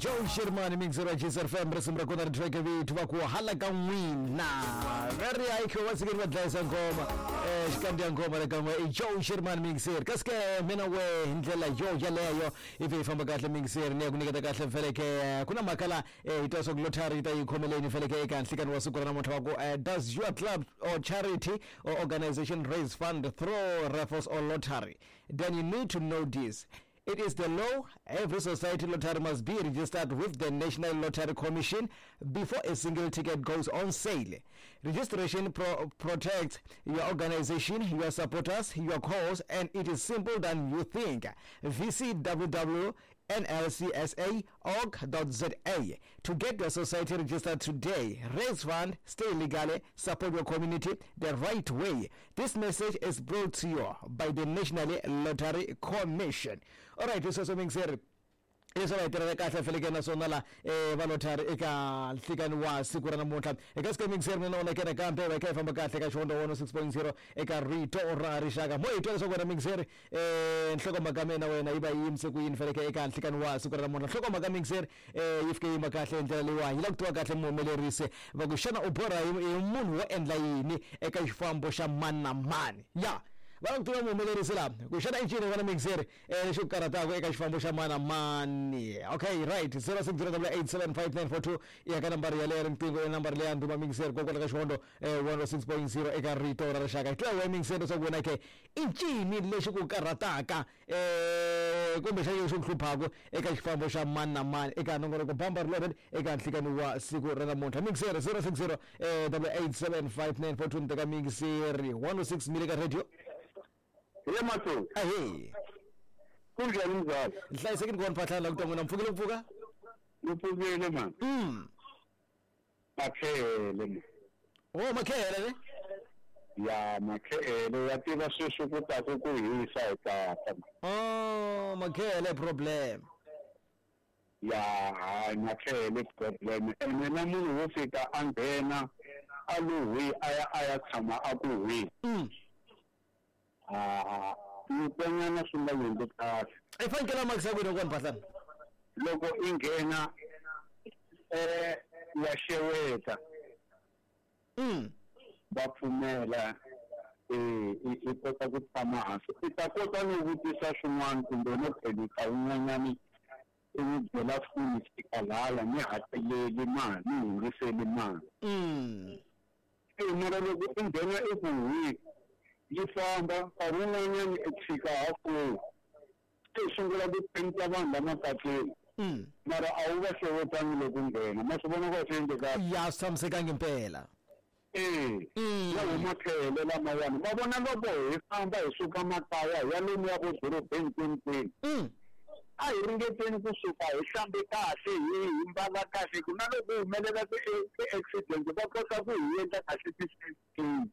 Joe Sherman mixer wa Jisr FM risimu ra kona ri track vithu va ku hala ka n'wina very high wa sikeni va dlayisa ngoma xikandziya ngoma le kan'we i Joe Sherman mixer kasi ke mina we hi ndlela yo yaleyo ivi hi famba kahle mixer ni ya ku nyiketa kahle feleke ku na mhaka la hi twa swa ku lottery yi ta yi khomeleni feleke eka nhlikani wa siku ra namuntlha wa ku does your club or charity or organization raise fund through raffles or lottery then you need to know this It is the law. Every society lottery must be registered with the National Lottery Commission before a single ticket goes on sale. Registration protects your organization, your supporters, your cause, and it is simple than you think. Visit www.nlcsa.org.za to get your society registered today. Raise fund, stay legally, support your community the right way. This message is brought to you by the National Lottery Commission. All right, sweswo mingiseri leswi va hi tirhela kahle feleke naswona la va lottery eka nhlikani wa siku ra namuntlha eka siku mingiseri mina wona kena kambe va kha hi famba kahle ka xihondzo 106.0 eka rito ra rixaka mo hi twa leswaku wena mingiseri nhlokomhaka mina wena yi va yi yimise ku yini feleke eka nhlikani wa siku ra namuntlha nhlokomhaka mingiseri yi fike yima kahle hi ndlela leyiwani yi lava ku tiva kahle muhumelerisi va ku xana u borha hi munhu wo endla yini eka xifambo xa mani na mani ya va lava ku tiva muhumelerisi laha ku xana i ncini vana mingiseri lexi ku karhataka eka xifambo xa mani na mani okay right 0608875942 ya ka nambara yaleyo ya riqingho ya nambara leya ndhuma mingiseri kokwala ka xihondo 106.0 eka rito ra rixaka hi twa wena mingiseri leswaku wena ke i ncini lexi ku karhataka kumbe xana lexi ku hluphaka eka xifambo xa mani na mani eka nongonoko bamba riloreni eka nhlikani wa siku ra namuntlha mingiseri 060 8875942 ni teka mingiseri 106 mile ka radio Ye mahlweni. Ahee. Kunjhani mzala? Nhlayisekile ku vona phahlana la ku twa n'wina mpfukile ku pfuka? Ni pfukile man. Makhele man. Oh makhele ne? Ya makhele ya tiva sweswi ku ta ku ku hisa hi tata. Oh makhele problem. Ya hayi makhele problem ene na munhu wo fika a nghena a lo hwi a ya a ya tshama a ku hwi. Ah, ntswenyana swi nga endli kahle. I fanekele a makisa kwini kona Phahlana? Loko i nghena wa xeweta. Va pfumela i kota ku tshama hansi. I ta kota no vutisa swin'wana kumbe no phelisa wun'wanyani i n'wi byela foni fika laya ni hakeleli mali ni hundziseli mali. Mara loko i nghena i ku hwi yi famba nkarhi wun'wanyana i fika halfway se i sungula ku penta vanhu la mapatwini mara a wu va xewetangi loko u nghena ma swi vona ku a swi endlekanga Ya swi tshamisekangi impela. E ya huma tlhelo lamawani ma vona loko hi famba hi suka makaya hi ya lomuya vo dorobeni kwini kwini a hi ringeteni kusuka hi hlambe kahle hi hi mbala kahle ku na loko humelela ti-accident va kota ku hi endla kahle ti-first aid.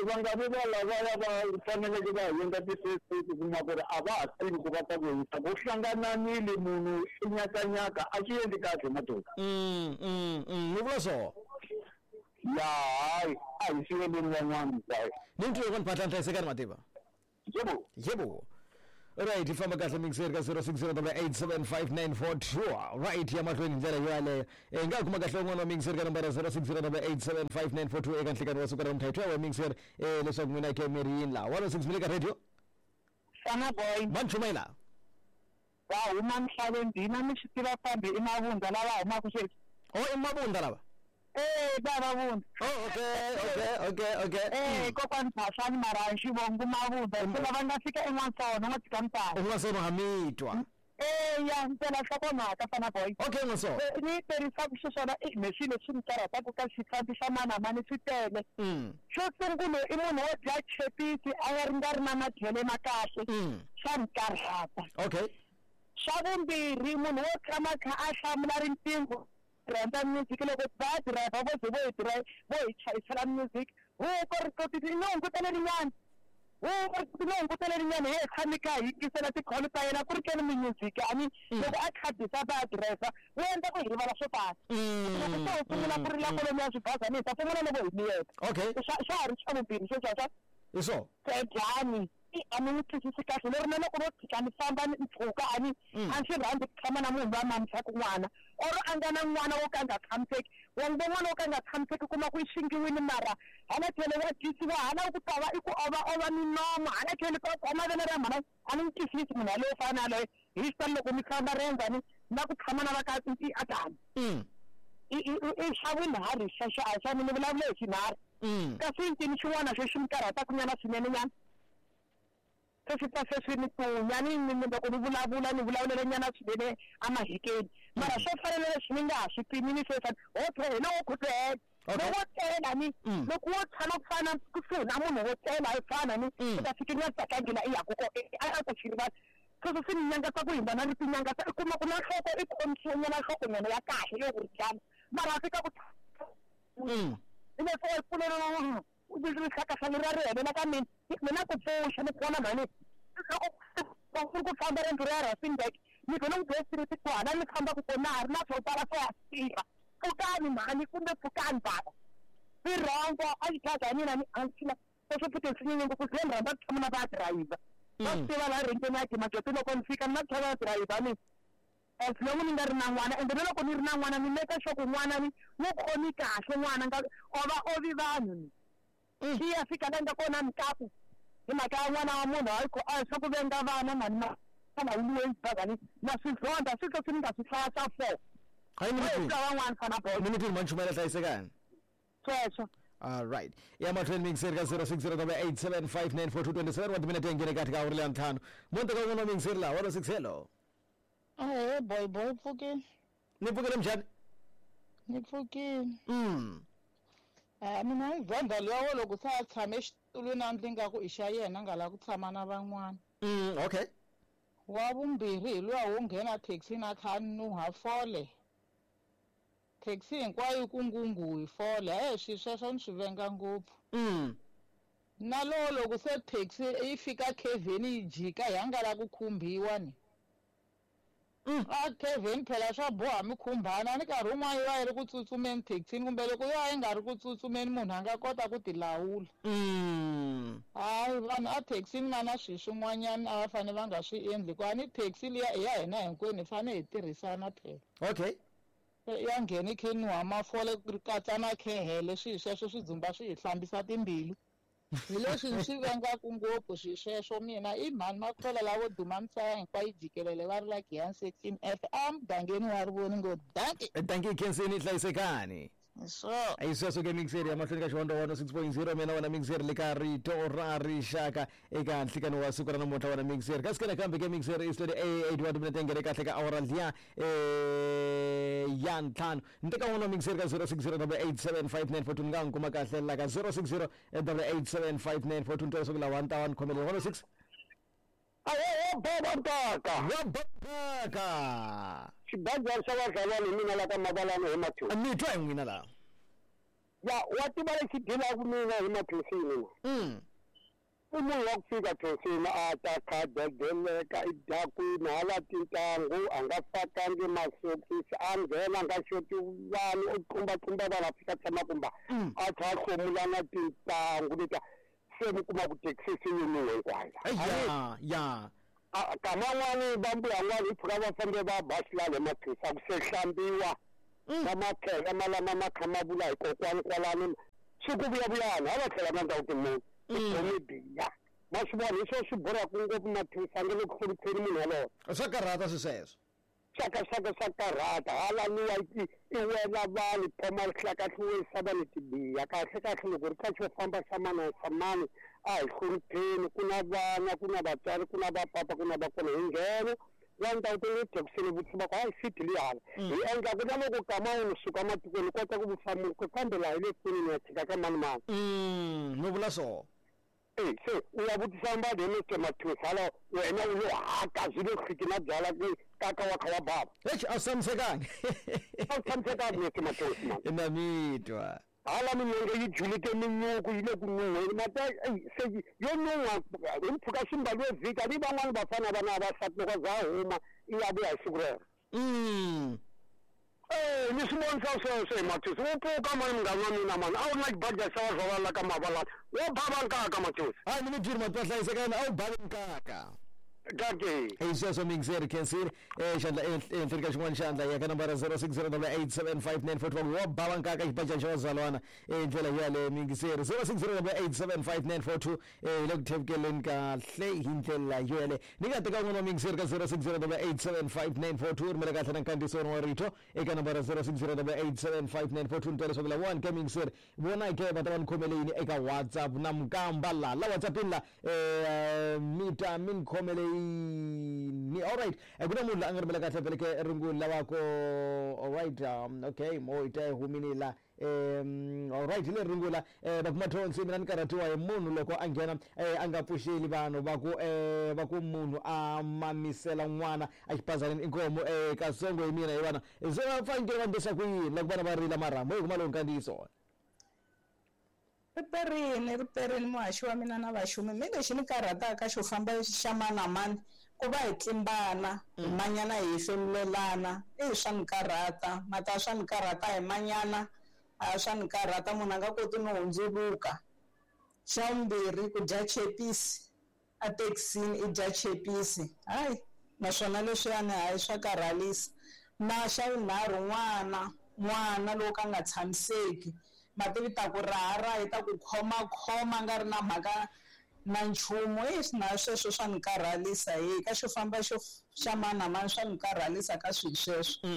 Va nga vi va lavaya va faneleke va hi endla ti-first aid u kuma ku ri a va ha tivi ku va ta ku yisa ku hlangananile munhu i nyakanyaka a swi endli kahle madoda. Mi vula swo? Ya hayi a hi siveleni van'wana guys. Ni twe kona Phahlane hlayisekani mativa. Yebo. Yebo. Right, hi famba kahle mixer ka 0608875942. Right, ya mahlweni hi ndlela yo yaleyo. Hi nga kuma kahle un'wana wa mixer ka nambara 0608875942 eka nhlikani wa siku ra namuntlha. Hi twa wa mixer leswaku n'wina ke mi ri yini laha. 106 mi le ka radio. Sana boy. Va ni chumayela. Va huma misaveni hina mi swi tiva kambe i mavundza lava humaka sweswi. Oh, i mavundza lava? Eh, va mavundza. Oh, okay, okay, okay, okay. Eh, kokwani Phasani mara hi xivongo mavundza. Se lava nga fika eN'wansona, n'wa tshika mutala. N'wansona ha mi twa. Eh, ya mpela nhlokomhaka fana boy. Okay, N'wansona. Ni yi tirhisaka xiswona i me swilo leswi ni karhataka ka xifambi xa mani na mani swi tele. Xo sungula i munhu wo dya chepisi a nga ri nga ri na madyele ma kahle. Swa ni karhata. Okay. Xa vumbirhi munhu wo tshama kha a hlamula riqingho rhandza music loko va driver vo ze vo hi drive vo hi chayisela music huko ri koti ni hungutele rin'wana huko ri koti ni hungutele rin'wana hi tshami kha hi yingisela ti-call ta yena ku ri keni music a ni loko a khabisa va driver wu endla ku hi rivala swo tala loko se u sungula ku rila kwalomu ya swibazana hi ta sungula loko hi miyeta Okay. swa ha ri xa vumbirhi sweswiwa swa Hi swo. Sedyani. A ni n'wi twisisi kahle leri na loko no tshika ni famba ni mpfhuka a ni a ni swi rhandzi ku tshama na munhu loyi a mamisaka n'wana or a nga na n'wana wo ka a nga tshamiseki. Wa n'wi vona n'wana wo ka a nga tshamiseki u kuma ku i xingiwile mara hala tlhelo wa dyisiwa hala ku ta va i ku ova ova minomo hala tlhelo ka khoma vele ra mhana. A ni n'wi twisisi munhu yaloye wo fana na yaloye hi xitalo loko mi famba riendzo ni na ku tshama na va ka i a tani i i i xa vunharhu xexo a hi xa mina ni vulavule hi xinharhu kasi i ncini xin'wana xo xi mi karhataka nyana swinene nyana. Se swi pfa se swi ni tlunya ni ni loko ni vulavula ni vulavulela nyana swinene emahikeni mara swo fana na leswi ni nga ha swi pimi ni sweswi ho hi lowo khutuhela loko wo tlela ni loko wo tshama ku fana kusuhi na munhu wo tlela hi fana ni u ta fika i nga tsakangi la i yaku kona a ku xi rivala sweswo swi ni nyangatsa ku hindza na ni tinyangatsa i kuma ku na nhloko i khomisiwe nyana nhloko nyana ya kahle yo ku ri jama mara a fika ku hi leswi wa yi pfulela rihlakahla leriya ri helela ka mina mina ku pfuxa ni vona mhani loko ku ri ku famba riendzo ro ya Rustenburg ni vhele ni Bay Street ku hala ni fambaka kona na ha ri na swo tala swo ya tirha pfukani mhani kumbe pfukani bava i rhongo a xidladla ya mina ni a ni sweswo futhi swi nyanye ngopfu ze ni rhandza ku tshama na va dirayivha va swi tiva laha renkeni ya Dimagete loko ni fika ni na ku tshama na dirayivha ni as long ni nga ri na n'wana ende na loko ni ri na n'wana ni make sure ku n'wana ni n'wi khomi kahle n'wana nga o va ovi vanhu ni xi ya fika la nga kona mikaku hi mhaka ya n'wana wa munhu hayi a hi swa ku venga vana mhani ma always bazani na swi zonda swi swi ni nga swi hlaya swa four hayi ni mi van'wana fana boy ni mi twini mhani Chumayela hlayisekani sweswo. All right. Ya mahlweni mixeri ka 0608759427 wa timinete ya nghene kahle ka awuri leya ntlhanu. Monte ka un'wana wa mixeri laha 106 hello. Ahee boy boy pfukini. Ni pfukile mjhani? Ni pfukile. Mina hi Venda luya wo loko se a tshame exitulwini a ndli nga ku i xa yena a nga lavi ku tshama na van'wana. Okay. Wa vumbirhi hi luya wo nghena thekisini a kha a nuha fole. Taxi hinkwayo yi ku ngungu hi fole. He swi sweswo ni swi venga ngopfu. Na lowo loko se taxi yi fika kevheni yi jika hi nga la ku khumbiwa ni. A kevheni phela swa boha mi khumbana ni nkarhi wun'wana yi va yi ri ku tsutsumeni thekisini kumbe loko yo va yi nga ri ku tsutsumeni munhu a nga kota ku tilawula. Hayi vanhu a thekisini va na swilo swin'wanyana a va fanele va nga swi endli hikuva ni taxi liya i ya hina hinkwenu hi fanele hi tirhisana phela. Okay. Ya nghena yi kha yi nuha mafole ri katsa na khehele swihi sweswo swi dzumba swi hi hlambisa timbilu. Hi leswi ni swi vengaku ngopfu swi sweswo mina i mhani Makhwela lavo duma misava hinkwayo jikelele va ri la Giyani Section F a mugangeni wa Rivoni ngo dankie. Dankie Khenseni hlayisekani. Swo. Hi sweswo ke mixeri ya mahlweni ka xivandla 106.0 mina wena mixeri le ka rito ra rixaka eka nhlikani wa siku ra namuntlha wena mixeri kasi ke nakambe ke mixeri i 28 wa timinete ya nghene kahle ka awara liya ya ntlhanu ni teka n'wana wa mixeri ka 0608875942 ni nga n'wi kuma kahle la ka 0608875942 ni twa leswaku lawa ni ta va ni khomelele 106 Ahe baba ntaka wa baka xibadlhela xa vazalwana hi mina la ka Mavalani hi Mathusini. Mi twa hi n'wina laha. Ya wa tiva lexi dilaka mina hi Mathusini na. I munhu wa ku fika Thusini a ta kha dedeleka i dakwini hala tintangu a nga fakangi masokisi a nghena a nga xoti vanhu u tlumbatlumba vanhu a fika tshama kumba a tlha a hlomula na tintangu letiya se mi kuma ku thekisi se yi nuhe hinkwayo. Ya ya. Kama n'wani va mbuya n'wani hi pfuka va fambe va ba xilalo hi mathisa ku se hlambiwa na makhele malama ma kha ma vula hi kokwani kwalano swi ku vuyavuyani ha va tlhela na ndhawu timunhu i biya ma swi vona hi swona swi borhaka ngopfu mathisa nge le ku hlonipheni munhu yaloye. Swa karhata swi sweswo. Swaka swaka swa karhata hala luwa i wela vanhu phoma rihlakahliwisa vanhu tibiya kahle kahle loko ri ka xo famba xa mani xa mani a hi hlonipheni ku na vana ku na vatswari ku na vapapa ku na vakona hi nghena la ndhawu ta le thekisini vutisa va ku hayi seat liya hala hi endla ku na loko kama u suka matikweni u kota ku vutisa munhu kambe laha hi le kwini ni ya chika ka mani mani. No vula so. E se u ya vutisa mbadi hi Mister Mathusi hala wena u lo haka swi le hliki na byala ku kaka wa kha wa bava. Eish a swi tshamisekangi. A swi tshamisekangi Mister Mathusi man. Na mi twa. Hala milenge yi julike minyuku yi le ku nuhweni mata se yo nuha hi mpfhuka swi mbaliwe vhiki a ni van'wani vafana va na vavasati loko za huma i ya vuya hi siku rero. Ni swi vonisa sweswo hi Mathiusi wo pfuka mani munghana wa mina mani a wu ri na xibaja xa vazalwana la ka Mavalani wo bava nkaka Mathiusi. Hayi ni mi byeli mati va hlayisekani a wu bavi nkaka. Kake. Hi sweswo miyingiseri khensile xandla ehenhleni ka xin'wana xandla ya ka nambara 0608875941 wo bava nkaka xibajani xa vazalwana hi ndlela yaleyo miyingiseri 0608875942 hi le ku thevukeleni kahle hi ndlela yo yaleyo ni nga teka un'wana wa miyingiseri ka 0608875942 rhumela kahle na nkandziyiso wa rito eka nambara 0608875942 ni twa leswaku lawani ka miyingiseri vona ke va ta va ni khomele yini eka WhatsApp na mukamba la la WhatsAppini la mi ta mi ni khomele yini. Alright, ku na munhu la a nga rhumela kahle vele ke rungula lava ko alright, okay mo hi ta yi humini la. Alright, hi leri rungula va kuma thonsi mina ni karhatiwa hi munhu loko a nghena a nga pfuxeli vanhu va ku va ku munhu a mamisela n'wana exipazaneni inkomu katsongo hi mina hi vana se va fanekele va ndlisa ku yini loko vana va rila marhambu hi kuma lowu nkandziyiso. Riperini riperini muhaxi wa mina na vaxumi mi lexi ni karhataka xo famba xa mani na mani ku va hi tlimbana hi manyana hi hefemulelana i swa ni karhata mata swa ni karhata hi manyana a swa ni karhata munhu a nga koti no hundzuluka. Xa vumbirhi ku dya chepisi a thekisini i dya chepisi hayi naswona leswiyani hayi swa karhalisa. Na xa vunharhu n'wana n'wana loko a nga tshamiseki mativi ta ku raharaha yi ta ku khomakhoma nga ri na mhaka na nchumu na sweswo swa ni karhalisa hi ka xo famba xo xa mani na mani swa ni karhalisa ka swilo sweswo.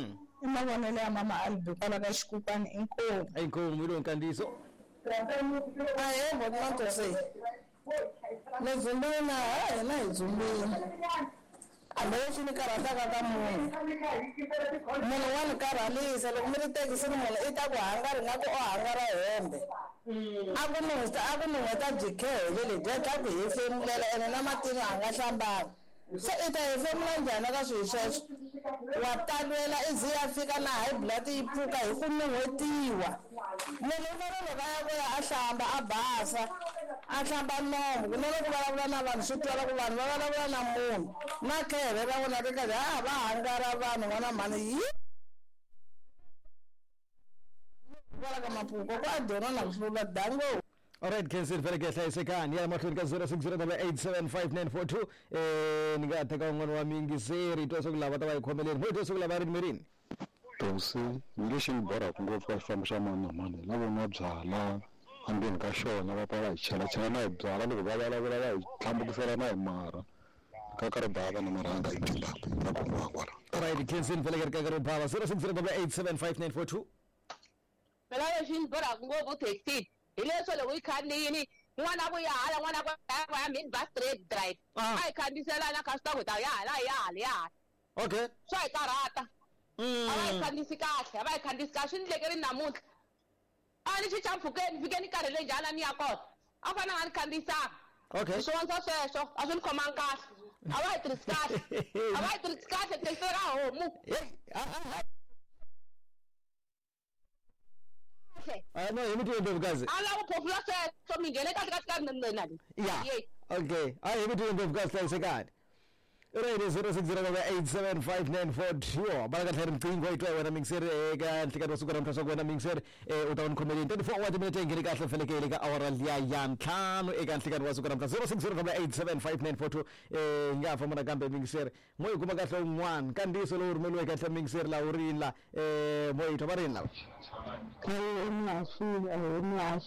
I mavonelo ya mama Albi kwala ka xikukwana inkomu. Inkomu hi lowu nkandziyiso. Ahee Bomathonsi ni dzumbile ha hina hi dzumbile hambi lexi ni karhataka ka munhu munhu wa ni karhalisa loko mi ri thekisini munhu i ta ku hangara ingaku o hangara hembe a ku nuheta a ku nuheta byi khehele lebyiya bya ku hefemulela ene na matino a nga hlambanga se i ta hefemula njhani ka swilo sweswo wa talwela i ze ya fika na high blood yi pfuka hi ku nuhetiwa munhu u fanele loko a ya ku ya a hlamba a basa a hlamba nomu kunene ku vulavula na vanhu swi twala ku vanhu va vulavula na munhu na khehele ra vona ri karhi a va hangara vanhu n'wana mhani yi kwala ka mapuko ku a dyona na ku hlula dango. Alright, Kensil vele ke hlayisekani ya mahlweni ka 0608875942 ni nga teka un'wana wa miyingiseri twa swa ku lava ta va hi khomeleni mo twa swa ku lava rini mirini. Thonsi ni lexi ni borhaka ngopfu ka xifambo xa mani na mani hi lavo nwa byala endzeni ka xona va pfa va hi chelachela na hi byala loko va vulavula va hi tlhambukisela na hi marha rikaka ri bava na marhanga hi Zimbabwe ra khomiwa kwala. Alright, Kensil vele ke rikaka ri bava 0608875942. Mina lexi ni borhaka ngopfu thekisini hi leswo loko yi khandziyini n'wana ku ya hala n'wana ku ya mini bus straight drive a hi khandziyiselana kha swi ta ku ta ya hala ya hala ya hala. Okay, swa hi karhata a va hi khandziyisi kahle a va hi khandziyisi kahle swi ni ndlekeri namuntlha a ni chicha mpfhukeni fike ni karhele njhani a ni ya kona a fanele a nga ni khandziyisanga. Okay, swi vonisa sweswo a swi ni khomangi kahle a va hi tirhisi kahle a va hi tirhisi kahle thekisi ka homu. No, hi mi tive Ndlovukazi. A lava ku phofula sweswo mi nghene kahle kahle ka nina le. Ya. Okay. A hi mi tive Ndlovukazi hlayisekani. Right, 0608875942 bala kahle riqingho yi twa wena mixer eka nhlikani wa siku ra namuntlha swa ku wena mixer u ta va ni khomeleni 24 wa timinete yi nghene kahle fanekele ka awara liya ya ntlhanu eka nhlikani wa siku ra namuntlha 0608875942 hi nga ha famba nakambe mixer mo yi kuma kahle un'wana nkandziyiso lowu rhumeriweke kahle mixer laha wu rini la mo yi twa va rini lava. Ahee muhaxi ahee muhaxi.